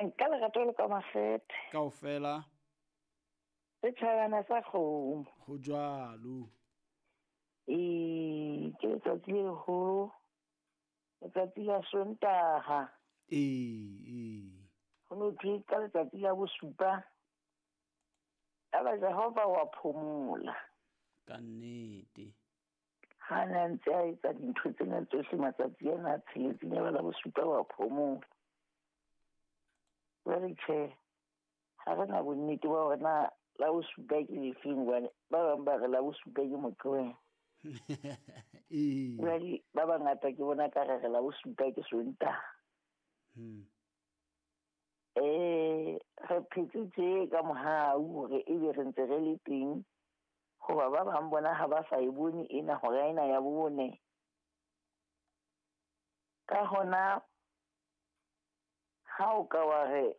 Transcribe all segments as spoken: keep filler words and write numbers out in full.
Nka lerato le ka makgethe. Kaofela. Setjhabana sa kgomo. Ho jwalo. Ee, ke letsatsi le leholo. Letsatsi la Sontaha. Ee, ee. Ho no thwe ka letsatsi la bosupa. Yaba Jehova wa phomola. Ka nnete. Ha na ntse a etsa dintho tsena tsohle matsatsi ana a tsheletseng, yaba la bosupa wa phomola. Jwale tjhe, ha re na bonnete ba hore na la bosupa ke lefeng, hobane ba bang ba re la bosupa ke Moqebelo. Ee. Jwale ba bangata ke bona ka re re la bosupa ke Sontaha. Hmm. Eh, re phetse tje ka mohau hore ebe re ntse re le teng, hoba ba bang bona ha ba sa e bone ena hora ena ya bone. Ka hona ha o ka wa re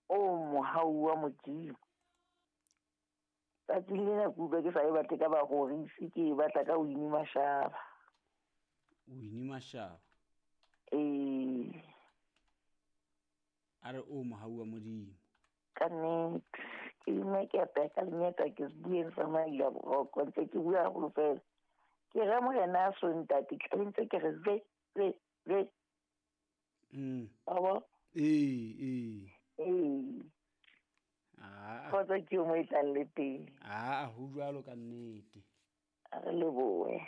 o mohau wa Modimo, tsatsing lena ke utlwa ke sa e batle ka barorisi, ke e batla ka Winnie Mashaba. Winnie Mashaba. Ee. A re o mohau wa Modimo. Ka nnete, ke ime ke apeha ka lenyata, ke se bueng sa maila boroko, ntse ke bua haholo fela. Ke re morena a so ntate, ke tla ntse ke re ve, ve, ve. Mm. Wa bo? Ee, ee. Ee. Ah. Kgotsa ke yo mo e tlang le teng. Ah, ho jwalo ka nnete. A re lebohe.